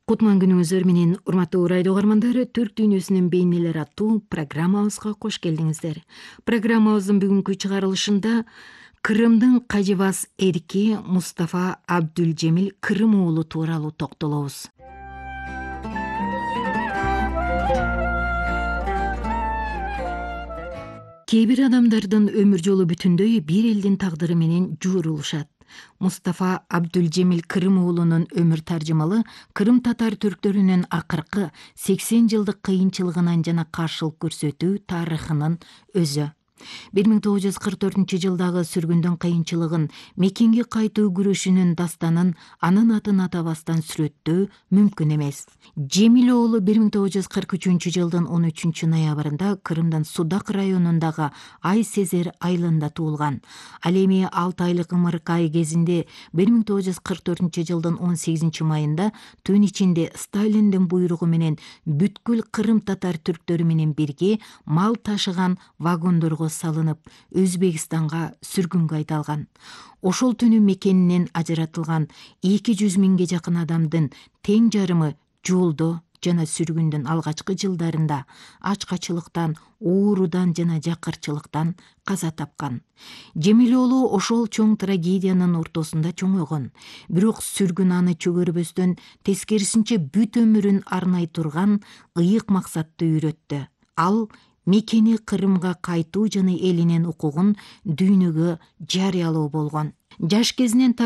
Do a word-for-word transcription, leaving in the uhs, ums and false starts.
Кутман күнүңүздөр менен урматтуу радио угармандары, Түрк дүйнөсүнүн бейнелери аттуу программабызга кош келдиңиздер. Программабыздын бүгүнкү чыгарылышында Кырымдын кажыбас эрки Мустафа Абдулжемил Кырым уулу тууралуу токтолобуз. Кээ бир адамдардын өмүр жолу бүтүндөй бир элдин тагдыры менен жуурулушат. Мустафа Абдулжемил Кырым уулунун өмүр таржымалы Кырым татар түрктөрүнүн акыркы сексен жылдык кыйынчылыгынан жана каршылык көрсөтүү тарыхынын өзү. бир миң тогуз жүз кырк төртүнчү жылдагы сүргүндүн кыйынчылыгын, мекенге кайтуу күрөшүнүн дастанын анын атын атабастан сүрөттөө мүмкүн эмес. Жемил уулу бир миң тогуз жүз кырк үчүнчү жылдын он үчүнчү ноябрында Кырымдын Судак районундагы Ай Сезер айылында туулган. Ал эми алты айлык ымыркай кезинде бир миң тогуз жүз кырк төртүнчү жылдын он сегизинчи майында түн ичинде Сталиндин буйругу менен бүткүл Кырым татар түрктөрү менен бирге мал ташыган вагондорго салынып, Өзбекстанга сүргүнгө айдалган. Ошол түнү мекенинен ажыратылган эки жүз миңге жакын адамдын тең жарымы жолдо жана сүргүндүн алгачкы жылдарында ачкачылыктан, оорудан жана жакырчылыктан каза тапкан. Жемил уулу ошол чоң трагедиянын ортосунда чоңойгон. Бирок сүргүн аны чөгөрбөстөн, тескерисинче бүт өмүрүн арнай турган ыйык максатты үйрөттү. Ал мекени Кырымга кайтуу жана элинин укугун дүйнөгө жарыялоо болгон. Жаш кезинен